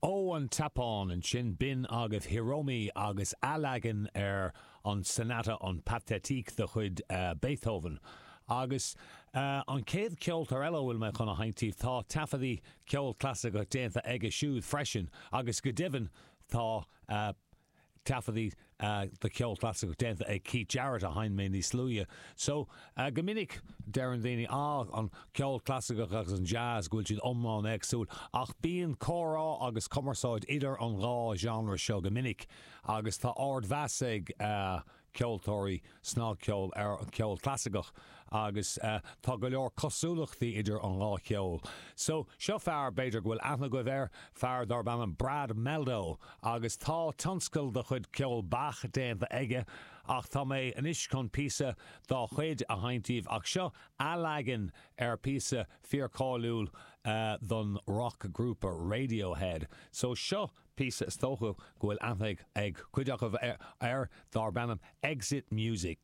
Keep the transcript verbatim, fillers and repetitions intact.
Ó an tSeapáin ansin b'in agaibh Hiromi agus athleagan ar an Sonata an Pathétique de chuid Beethoven. Agus an chéad cheoltóir eile a bhfuil mé chun a sheinnt daoibh, tá taifeadtaí ceol clasaiceach déanta aige siúd freisin agus go deimhin tá taifeadtaí de cheol clasaiceach déanta ag Keith Jarrett a sheinn mé níos luaithe. So, go minic deireann daoine, ah, an ceol clasaiceach agus an jazz, go bhfuil siad iomlán éagsúil, ach bíonn comhrá agus cumarsáid idir an dhá genre seo go minic agus tá ardmheas ag ceoltóirí snagcheoil ar an cheol clasaiceach agus tá go leor cosúlachtaí idir an dhá cheol. So, seo fear, b'fhéidir go bhfuil aithne agaibh air, fear darb ainm Brad Mehldau agus tá tionscal de chuid ceol Bach déanta aige ach tá mé anois chun píosa dá chuid a sheinnt daoibh ach seo athleagan ar píosa fíorcháiliúil don roc-ghrúpa Radiohead. So, seo píosa is dócha go bhfuil aithne ag cuid acu air darb ainm Exit Music.